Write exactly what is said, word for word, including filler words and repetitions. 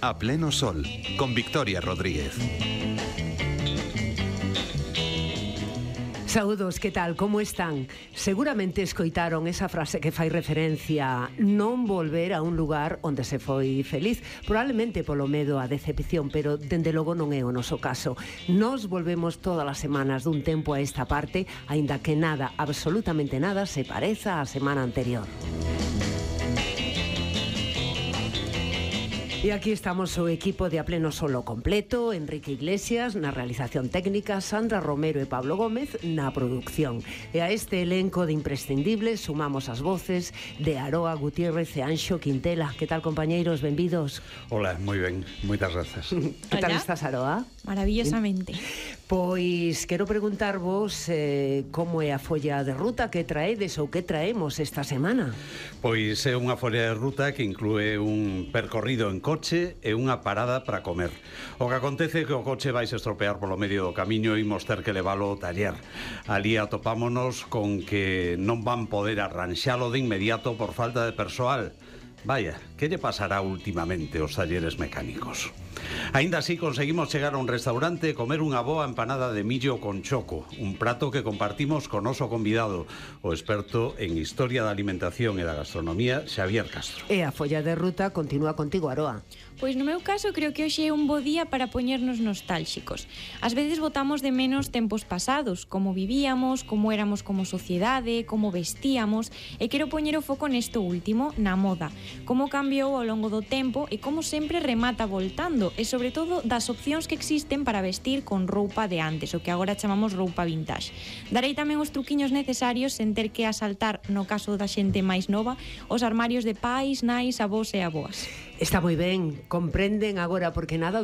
A pleno sol, con Victoria Rodríguez. Saúdos, que tal, como están? Seguramente escoitaron esa frase que fai referencia non volver a un lugar onde se foi feliz, probablemente polo medo á decepción, pero dende logo non é o noso caso. Nos volvemos todas as semanas dun tempo a esta parte, aínda que nada, absolutamente nada, se pareza á semana anterior. E aquí estamos o equipo de A Pleno Solo completo, Enrique Iglesias na realización técnica, Sandra Romero e Pablo Gómez na produción. E a este elenco de imprescindibles sumamos as voces de Aroa Gutiérrez e Anxo Quintela. Que tal, compañeiros? Benvidos. Hola, moi ben, moitas grazas. Que tal estás, Aroa? Maravillosamente. Pois quero preguntarvos eh, como é a folla de ruta que traedes ou que traemos esta semana. Pois é unha folla de ruta que inclúe un percorrido en coche e unha parada para comer. O que acontece é que o coche vais estropear polo medio do camiño e imos ter que leválo ao taller. Ali atopámonos con que non van poder arranxalo de inmediato por falta de persoal. Vaya, que lle pasará últimamente aos talleres mecánicos? Aínda así conseguimos chegar a un restaurante e comer unha boa empanada de millo con choco, un prato que compartimos con noso convidado, o experto en historia da alimentación e da gastronomía, Xavier Castro. E a folla de ruta continúa contigo, Aroa. Pois no meu caso creo que hoxe é un bo día para poñernos nostálxicos. Ás veces botamos de menos tempos pasados, como vivíamos, como éramos como sociedade, como vestíamos, e quero poñer o foco nesto último, na moda, como cambiou ao longo do tempo e como sempre remata voltando, e sobre todo das opcións que existen para vestir con roupa de antes, o que agora chamamos roupa vintage. Darei tamén os truquiños necesarios sen ter que asaltar, no caso da xente máis nova, os armarios de pais, nais, avós e avoas. Está moi ben, comprenden agora porque nada do